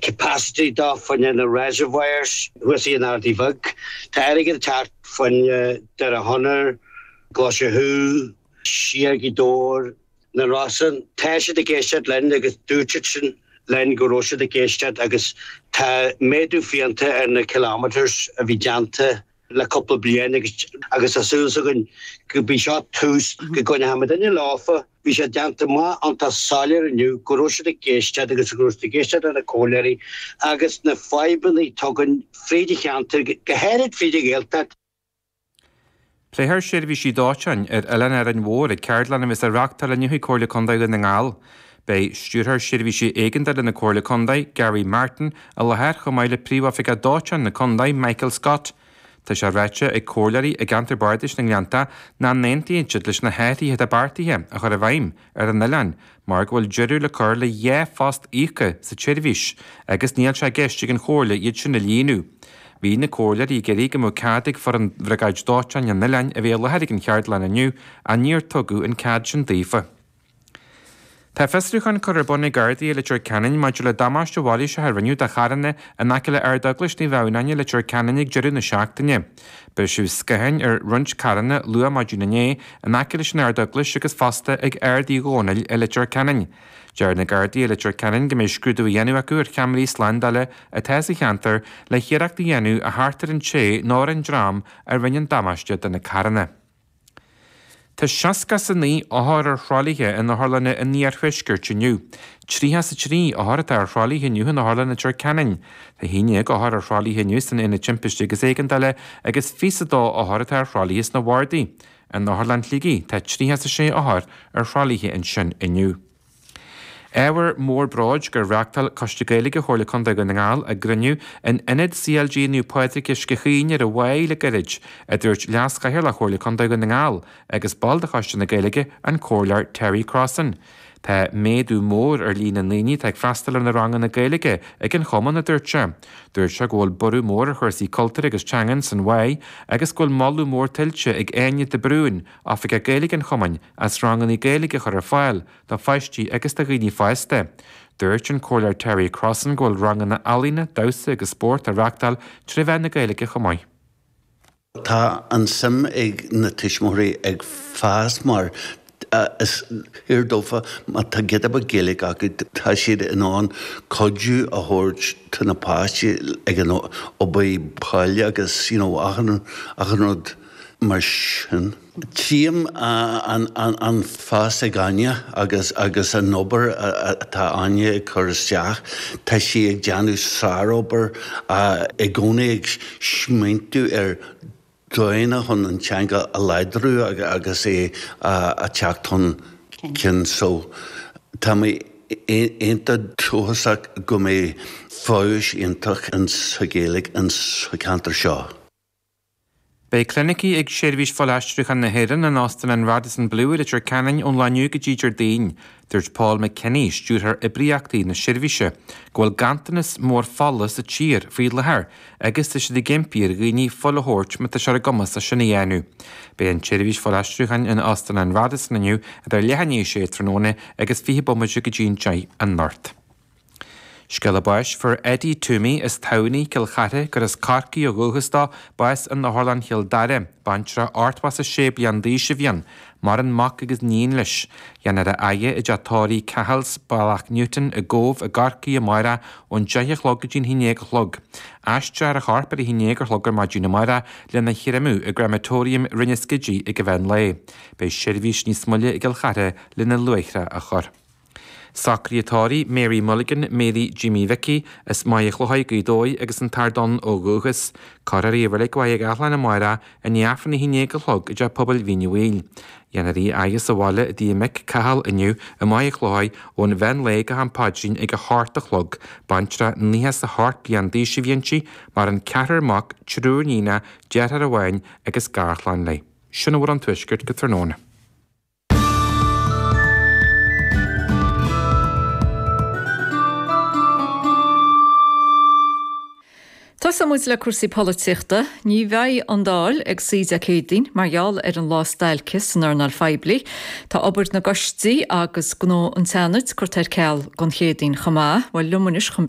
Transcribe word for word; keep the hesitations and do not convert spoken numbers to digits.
Capacity dá fá choinne na reservoirs thuas in Ardaí Bheag. Tá airgead ag teacht fá choinne Doire Chonair, Glaise Chú, siar go Dobhar, na Rosann. Tá siad ag éisteacht linn agus dúirt siad sin linn go raibh siad ag éisteacht agus tá méadú fiánta ar na kilometres a bhí déanta le cúpla bliain agus agus tá súil againn go b'í seo tús go gcoinneoidh muidne leofa. Bhí sé déanta maith iontach soiléir inniu go raibh siad ag éisteacht agus go raibh siad ag éisteacht le na comhairleoirí agus na fadhbanna atá againn fríd an cheantar, go háirid fríd an Ghaeltacht. Pléifear seirbhísí dóiteáin ar Oileán Árainn Mhór ag ceardlann a bheas á reáchtáil inniu ag Comhairle Contae Dhún na nGall. Beidh Stiúrthóir Seirbhísí Éigeandála na Comhairle Contae, Gary Martin, i láthair chomh maith le Príomhoifigeach Dóiteáin na Contae, Michael Scott. Tá sé ráite ag comhairleoirí i gceantar bardais na nGleannta nach n-aontaíonn siad leis na hathruithe atá beartaithe a chur i bhfeidhm ar an oileán mar go bhfuil deireadh le cur le dhá phost íoctha sa tseirbhís agus níl sé i gceist ag an Chomhairle iad sin a líonadh. Bhí na comhairleoirí ag iarraidh go mbeadh cead ag foireann Bhriogáid Dóiteáin an oileáin a bheith i láthair ag an cheardlann inniu ach níor tugadh an cead sin daofa. Tá fiosrúchán curtha ar bun ag Gardaí i Leitir Ceanainn maidir le damáiste mhailíseach a rinneadh do charranna in aice le Ardeaglais Naomh Adhamhnáin i Leitir Ceanainn ag deireadh na seachtaine. Briseadh scátháin ar roinnt carranna luath maidin inné in aice leis an Ardeaglais agus fosta ag Ard Uí Dhónaill i Leitir Ceanainn. Deir na Gardaí i Leitir Ceanainn go mbeidh scrúdú á dhéanamh acu ar cheamaraí slándála atá sa cheantar le hiarracht a dhéanamh a theacht ar an té nó ar an dream a rinne an damáiste do na carranna. Tá seasca is a naoi othar ar thralaithe in otharlanna an iarthuaiscirt inniu. Tríocha is a trí othar atá ar thralaithe inniu in Otharlann Leitir Ceanainn. Tá haon déag othar ar thralaithe inniu san Aonad Timpiste agus Éigeandála agus fiche is a dó othar atá ar thralaithe sna bardaí. In Otharlann Shligigh tá tríocha is a sé othar ar thralaithe ansin inniu. Ábhar mór bróid gur reáchtáil Coiste Gaeilge Chomhairle Contae Dhún na nGall a gcruinniú in Ionad CLG Naomh Pádraig Uisce Chaoin ar an Mhaigh le gairid, a dúirt Leas-Chathaoirleach Chomhairle Contae Dhún na nGall agus ball de Choiste na Gaeilge, an Comhairleoir Terry Crossan. Tá méadú mór ar líon na ndaoine atá ag freastal ar na ranganna Gaeilge ag an chumann, a dúirt sé. Dúirt sé go bhfuil borradh mór ar chúrsaí cultúir agus teangan san Mhaigh agus go bhfuil moladh mór tuillte ag Áine de Brún, Oifigeach Gaeilge an chumainn, as ranganna Gaeilge a chur ar fáil do pháistí agus do dhaoine fásta. Dúirt an Comhairleoir Terry Crossan go bhfuil ranganna ealaíne, damhsa agus spóirt á reáchtáil trí mheán na Gaeilge chomh maith. Tá an suim ag na tuismitheoirí ag fás mar is fíor dófa má tá giota beag Gaeilge acu tá siad in ann cuidiú a thabhairt do na páistí ag an obair baile agus you know achan achan rud mar sin. Tchím an fás ag Áine agus agus an obair atá Áine ag cur isteach. Tá sí ag déanamh sárobair, i gcónaí ag smaointiú ar dóigheanna chun an teanga a láidriú agus é a teacht chun cinn. So tá mé iontach dóchasach go mbeidh feabhas iontach sa Ghaeilge insa cheantar seo. Beidh clinicí ag Seirbhís Fuilaistriúcháin na hÉireann in Óstán an Radisson Blu i Leitir Ceanainn ón lá inniu go dtí Déardaoin. Dúirt Paul McKinney, Stiúrthóir Oibríochtaí na seirbhíse, go bhfuil ganntanas mór fola sa tír faoi láthair agus tá siad ag impí ar dhaoine fuil a thabhairt má tá sé ar a gcumas é sin a dhéanamh. Beidh an tseirbhís fuilaistriúcháin in Óstán an Radisson inniu idir leath i ndiaidh a sé tráthnóna agus fiche bomaite go dtí an deich anocht. Scéala báis, Fuair Eddie Toomey as Tamhnaigh, Cill Chartha, gur as Corcaigh ó dhúchas dó, bás in Otharlann Chill Dara. Baintreach ochtó is a sé bliain d'aois a bhí ann. Maireann mac agus níon leis. Déanfar a fhaire i dteach tórraimh Cahill's, Bealach Newton i gCóbh i gCorcaigh amárach ón deich a chlog go dtí'n haon déag a chlog. Aistreofar a chorp ar a haon déag a chlog ar maidin amárach lena chreimeadh i gcreamatóiriam Rinn an Scidígh ag an mheán lae. Beidh seirbhís níos moille i gCill Chartha lena luaithreach a chur. Socruithe tórraimh, Mary Mulligan, Mary Jimmy Mhicí, as Maigh Chlóidh, Gaoth Dobhair agus an tArdán ó dhúchas. Cuirfear í i Reilig Mhaigh Gathlán amárach i ndiaidh Aifreann a haon déag a chlog i dTeach Pobail Mhín an Mhaoil. Dhéanfar í a fhaire sa bhaile i dtigh a mic, Cathal, inniu i Maigh Chlóidh ón mheán lae go ham paidrín ag a hocht a chlog. Baintreach nócha is a hocht bliain d'aois a bhí inti, maireann ceathrar mac, triúr níonacha, deartháir amháin agus garchlann léi. Sin a bhfuil ón Tuaisceart go tráthnóna. Tosóidh muid le cúrsaí polaitíochta, ní bheidh an Dáil ag suí Dé Céadaoin mar gheall ar an lá stailce san earnáil phoiblí. Tá obair na gcoistí agus gnó an tSeanaid curtha ar ceal don Chéadaoin chomh maith, bhuel liom anois chun